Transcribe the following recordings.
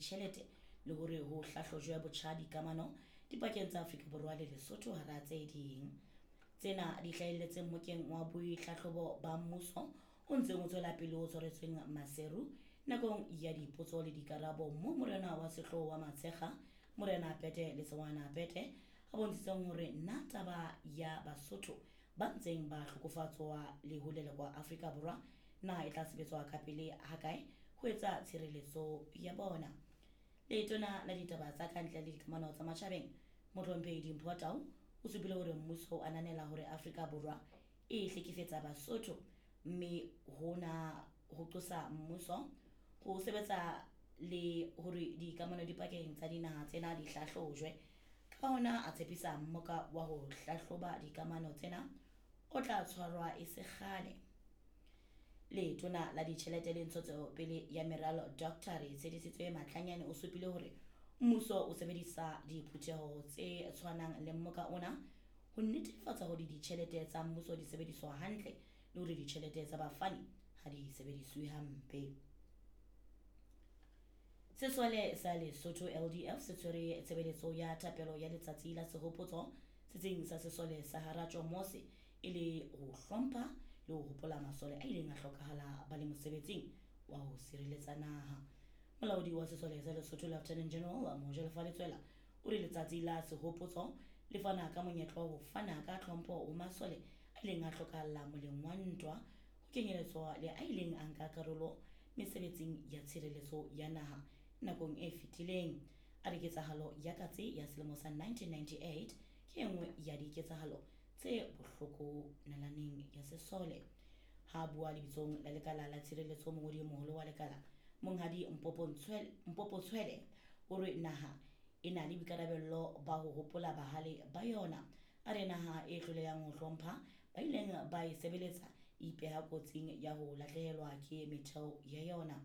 ditjhelete le hore ho hlahlojwe botjha dikamano dipakeng tsa Afrika Borwa le Lesotho hara tse ding. Tsena di hlahelletse mmokeng wa boitlhahlobo ba mmuso o ntseng o tswela pele o tshwaretsweng Maseru nakong ya dipotso le dikarabo moo morena wa sehlooho wa Matshekga Morena Pete Letsoana Pete a bontshitseng hore na taba ya Basotho ba ntseng ba hlokofatsoa le ho lelekwa Afrika Borwa na e tla sebetswa kapele hakae ho etsa tshireletso ya bona. Letona la ditaba tsa kantle le dikamano tsa matjhabeng Mohlomphehi Dimpho Tau o supile hore mmuso o ananela hore Afrika Borwa e hlekefetsa Basotho mme hona ho qosa mmuso ho sebetsa le hore dikamano dipakeng tsa dinaha tsena di hlahlojwe. Ka hona a tshepisa mmoka wa ho hlahloba dikamano tsena o tla tshwarwa e se kgale. Letona la ditjhelete le ntshetsopele ya meralo Dr. Retshedisitswe Matlanyane o supile hore mmuso o sebedisa diphutheho tse tshwanang le mmoka ona ho netefatsa hore ditjhelete tsa mmuso di sebediswa hantle le hore ditjhelete tsa bafani ha di sebediswe hampe. Sesole sa Lesotho LDF se tshwere tshebeletso ya thapelo ya letsatsi la sehopotso setsing sa sesole sa Haratjo Mose e le ho hlompha le ho hopola masole a ileng a hlokahala ba le mosebetsing wa ho sireletsa naha. Molaodi wa sesole sa Lesotho Lieutenant General Mojalefa Letsoela o re letsatsi la sehopotso le fana ka monyetla wa ho fana ka tlhompho ho masole a ileng a hlokahalla moleng wa ntwa ho kenyeletswa le a ileng a nka karolo mesebetsing ya tshireletso ya naha nakong e fetileng. A re ketsahalo ya katse ya selemo sa 1998 ke e nngwe ya diketsahalo tse bohloko nalaneng ya sesole. Ha a bua lebitsong la lekala la tshireletso mongodi e moholo wa lekala Monghadi Mpopo Tshwele o re naha e na le boikarabello ba ho hopola bahale ba yona. A re naha e hlolehang ho hlompha ba ileng ba e sebeletsa e ipeha kotsing ya ho lahlehelwa ke metheo ya yona.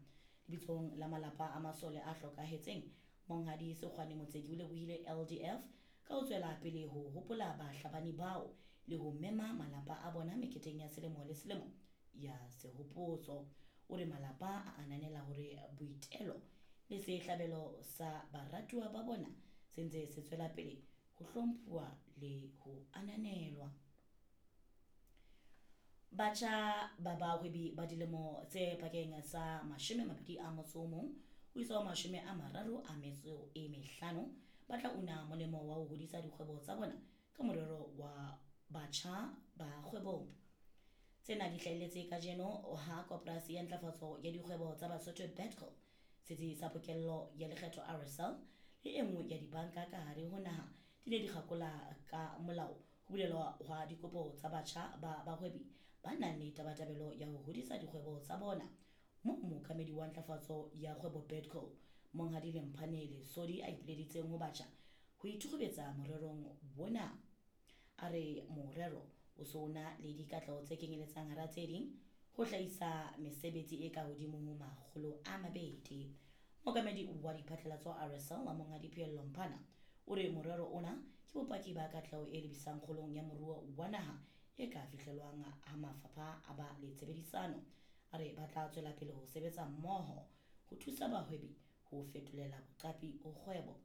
Lebitsong la malapa a masole a hlokahetseng, Monghadi Sekgwane Motseki o lebohile LDF ka ho tswela pele ho hopola bahlabani bao le ho mema malapa a bona meketeng ya selemo le selemo ya sehopotso. O re malapa a ananela hore boitelo le sehlabelo sa baratuwa ba bona se ntse se tswela pele ho hlomphuwa le ho ananelwa. Batjha ba bahwebi ba dilemo tse pakeng tsa 21 ho isa ho 35 ba tla una molemo wa ho hodisa dikgwebo tsa bona ka morero wa Batjha ba Kgwebong. Tsena di hlahelletse kajeno ha Koporasi ya Ntlafatso ya Dikgwebo tsa Basotho BEDCO, Setsi sa Pokello ya Lekgetho RSL le e nngwe ya dibanka ka hare ho naha di ne di kgakola ka molao ho bulelwa hwa dikopo tsa batjha ba bahwebi ba nang le tabatabelo ya ho hodisa dikgwebo tsa bona moo mookamedi wa ntlafatso ya kgwebo BEDCO Monghadi Lemphane Lesodi a ipileditseng ho batjha ho ithukgubetsa morerong ona. A re morero o se o na le dikatleho tse kenyeletsang hara tse ding ho hlahisa mesebetsi e ka hodimo ho 200. Mookamedi wa diphatlalatso RSL Monghadi Pheello Mphana o re morero ona ke bopaki ba katleho e lebisang kgolong ya moruo wa naha e ka fihlelwang ha mafapha a ba le tshebedisano. A re ba tla tswela pele ho sebetsa mmoho ho thusa bahwebi ho fetolela boqapi ho kgwebo.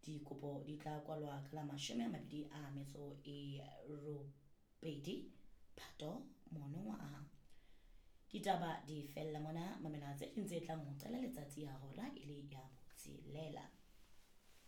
Dikopo di tla kwalwa ka la 28 Phato monongwaha. Ditaba di fella mona, mamela tse ding tse tlang ho qala letsatsi ha hora e le ya